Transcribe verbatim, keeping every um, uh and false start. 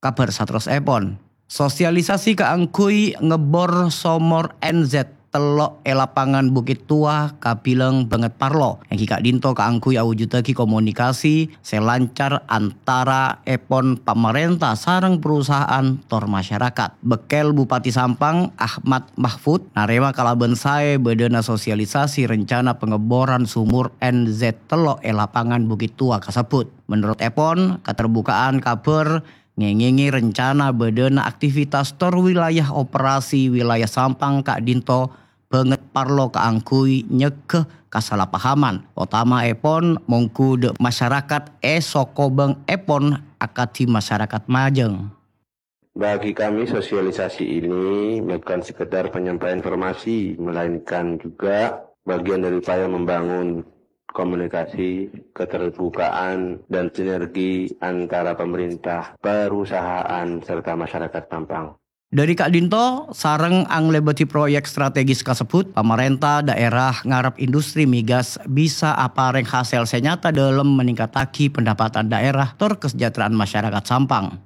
Kabhâr saterrossèpon, sosialisasi kaangghuy ngebbor somor N Z tello' è lapangan Bukit Tua kabilang bângèt parlo. Èngghi ka'dinto kaangghuy awujuddhâghi komunikasi sè lancar antaraèpon pamarènta sareng perusahaan tor masyarakat. Bekkèl Bupati Sampang, Ahmad Mahfud, narèma kalabân saè bâdâna sosialisasi rencana pengeboran sumur N Z tello' è lapangan Bukit Tua kasebbhut. Menurut èpon, katerbukaan kabhâr ngèngèngè rencana bâdâna aktivitas tor wilayah operasi wilayah Sampang ka'dinto bângèt parlo kaangghuy nyegghâ kasalahpahaman, otamaèpon mongghu dâ' masyarakat è sokobângèpon akadhi masyarakat majâng. Bagi kami, sosialisasi ini bukan sekedar penyampaian informasi, melainkan juga bagian dari upaya membangun komunikasi, keterbukaan, dan sinergi antara pemerintah, perusahaan, serta masyarakat Sampang. Dâri ka'dinto, sareng anglèbâdhi proyek strategis kasebbhut, pamarènta dhaèra ngarep industri migas bisa aparèng hasèl sè nyata dâlem meningkataghi pendapatan dhaèra tor kasejahtèraan masyarakat Sampang.